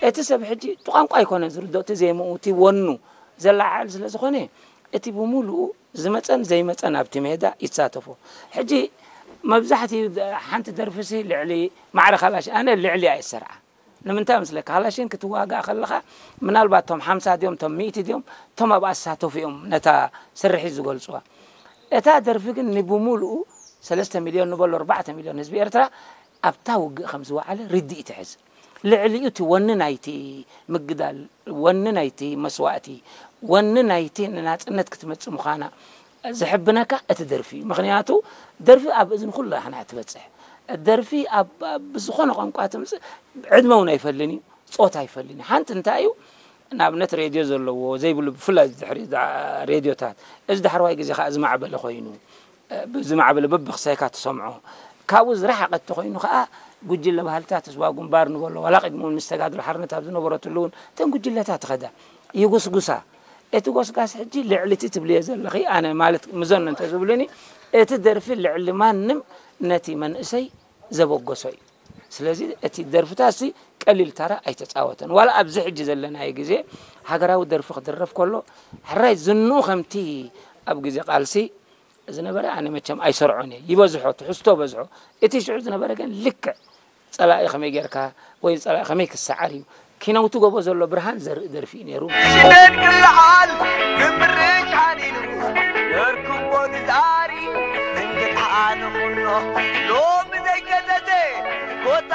እቲ ሰብ ሕጂ እቲ ቋንቋ ኣይኮነን ዝርድኦ፣ እቲ ዜምኡ፣ እቲ ወኑ ዘለዓዕል ስለ ዝኾነ፣ እቲ ብምሉኡ ዝመጸን ዘይመጸን ኣብቲ ሜዳ ይሳተፎ። ሕጂ መብዛሕትኡ ሓንቲ ደርፊሲ ልዕሊ ማዕረ ካላሽ፣ ኣነ ልዕሊ እየ ዝሰርዓ። ንምንታይ መስለካ? ካላሽን ክትዋጋእ ከለኻ፣ ምናልባት እቶም ሓምሳ ድዮም፣ እቶም ሚእቲ ድዮም፣ እቶም ኣብኣ ዝሳተፉ እዮም ነታ ስርሒት ዝገልጽዋ። እታ ደርፊ ግን ንብምሉኡ ሰለስተ ሚልዮን ንበሎ ኣርባዕተ ሚልዮን ህዝቢ ኤርትራ ኣብታ ውግእ ከም ዝወዓለ ርድኢት ይሕዝ። ልዕሊኡ እቲ ወኒ ናይቲ ምግዳል፣ ወኒ ናይቲ መስዋእቲ፣ ወኒ ናይቲ ንናጽነት ክትመጽእ ምዃና ዝሕብነካ እቲ ደርፊ እዩ። ምኽንያቱ ደርፊ ኣብ እዝኒ ኩላህና እያ ትበጽሕ። ደርፊ ኣብ፣ ኣብ ብዝኾነ ቋንቋ ትምጽእ፣ ዕድመ እውን ኣይፈልን እዩ፣ ጾታ ኣይፈልን እዩ። ሓንቲ እንታይ እዩ፣ ንኣብነት ሬድዮ ዘለዎ ዘይብሉ፣ ብፍላይ ድሕሪ እዛ ሬድዮታት፣ እዚ ዳሕረዋይ ግዜ ከኣ ዝማዕበለ ኮይኑ፣ ብዝማዕበለ በብኽሳይካ ትሰምዖ። ካብኡ ዝረሓቐ እንተኾይኑ ከኣ፣ ጉጅለ ባህልታት ህዝባዊ ግንባር ንበሎ፣ ዋላ ቅድሚ እውን ምስ ተጋድሎ ሓርነት ኣብ ዝነበረትሉ እውን እተን ጉጅለታት ይኸዳ፣ ይጉስጉሳ። እቲ ጎስጋስ ሕጂ ልዕሊ እቲ ትብልዮ ዘለኺ፣ ኣነ ማለት ምዘኖ እንተዝብሉኒ፣ እቲ ደርፊ ልዕሊ ማንም ነቲ መንእሰይ ዘበገሶ እዩ። ስለዚ እቲ ደርፍታትሲ ቀሊል ታራ ኣይተጻወተን። ዋላ ኣብዚ ሕጂ ዘለናዮ ግዜ ሃገራዊ ደርፊ ክድረፍ ከሎ፣ ሕራይ ዝንኡ ከምቲ ኣብ ግዜ ቃልሲ ዝነበረ ኣነ መቸም ኣይሰርዖን እየ። ይበዝሖ፣ ትሕዝቶ በዝሖ። እቲ ሽዑ ዝነበረ ግን ልክዕ ጸላኢ ከመይ ጌርካ ወይ ጸላኢ ከመይ ክሰዓር እዩ። ኪነውቲ ጎቦ ዘሎ ብርሃን ዘርኢ ደርፊ እዩ ነይሩ። ሽደድ ክለዓል ግብሪ ቻኒኑ ነርክቦ ንዛሪ እንግድዓ ንኹኖ ሎሚ ዘይገደደ ኮታ